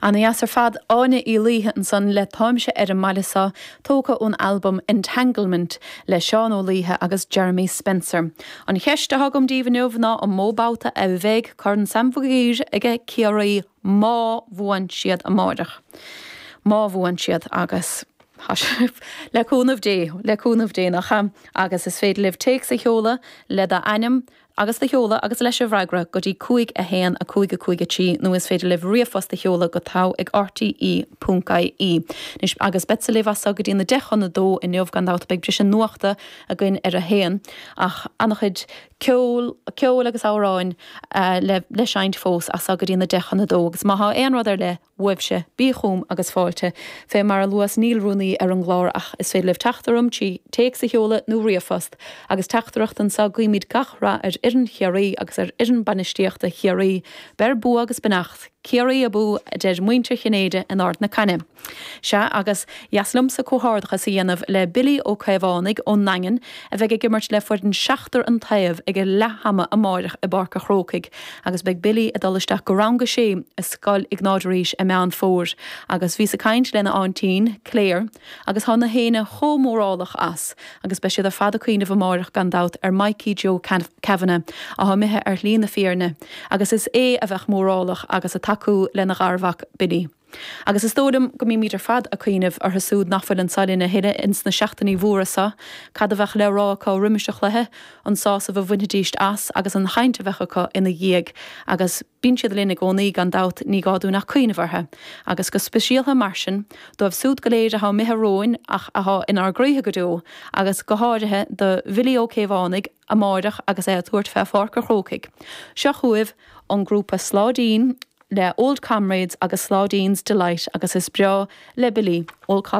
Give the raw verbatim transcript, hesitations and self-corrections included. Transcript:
Ana dheas ar fad Áine Uí Laoithe ansan le Táimse ar an mbaile seo tógtha ón albam Entanglement le Seán Ó Laoithe agus Jeremy Spencer. An cheist atá agam daoibh inniu ná an mó babhta a bheidh Corn Sam Mhig Uidhir ag Ciarraí má bhuann siad amáireach. Má bhuann siad agus le cúnamh Dé le cúnamh Dé nach ea agus is féidir libh téacs a sheoladh le d'ainm agus do sheoladh agus leis an bhfreagra go dtí cúig a haon a cúig a cúig a trí nó is féidir libh ríomhphost a sheoladh go togha ag RTE ponc IE. Agus beadsa libh as go dtí na deich chun a dó inniu gan dabht beidh briseadh nuachta againn ar a haon ach an-chuid ceol ceol agus amhráin uh, le le seinnt fós as go dtí na deich chun a dó agus má tá aon rud ar leith uaibhse bí chugam agus fáilte fé mar a luas níl rúnaí ar an gclár ach is féidir libh teacht orm trí téacs a sheoladh nó ríomhphost agus teachtaireacht anseo guímid gach rath ar fhoireann Chiarraí agus ar fhoireann bainistíochta Chiarraí, Beir bua agus beannacht, Ciarraí abú a deir muintir Chinnéide in Ard na Caine. Sea agus dheas liomsa comhghairdeachas a dhéanamh le Billy Ó Caomhánaigh ón nDaingean a bheidh ag imirt le foireann seachtar an taobh ag a leath ama amáireach i bPáirc an Chrócaigh, agus beidh Billy ag dul isteach go rang a sé i Scoil Iognáid Rís i Meán Fómhair, agus bhíos ag caint lena aintín, Claire, agus tá na héinne chomh mórálach as, agus beidh siad ar fad ag cuimhneamh amáireach gan dabht ar Mikey Joe Kavanagh atá imithe ar shlí na fírinne, agus is é a bheadh mórálach agus ag tacú lena gharmhac Billy. Agus is dóigh liom go mbímid ar fad ag cuimhneamh orthu siúd nach bhfuil anseo linn a thuilleadh ins na seachtainí mhóra seo, cad a bheadh le rá acu roimis an chluiche, an sásamh a bhainfidís as agus an chaint a bheadh acu ina dhiaidh, agus bíonn siad linn i gcónaí gan dabht ní gá dúinn ach cuimhneamh orthu. Agus go speisialta mar sin, dóibh siúd go léir atá imithe romhainn ach atá inár gcroíthe go deo, agus go háirithe do Bhilly Ó Caomhánaigh amáireach agus é ag tabhairt fé Pháirc an Chrócaigh. Seo chugaibh an grúpa Sláidín le Old Comrades agus Sládín's Delight agus is breá le Billy Old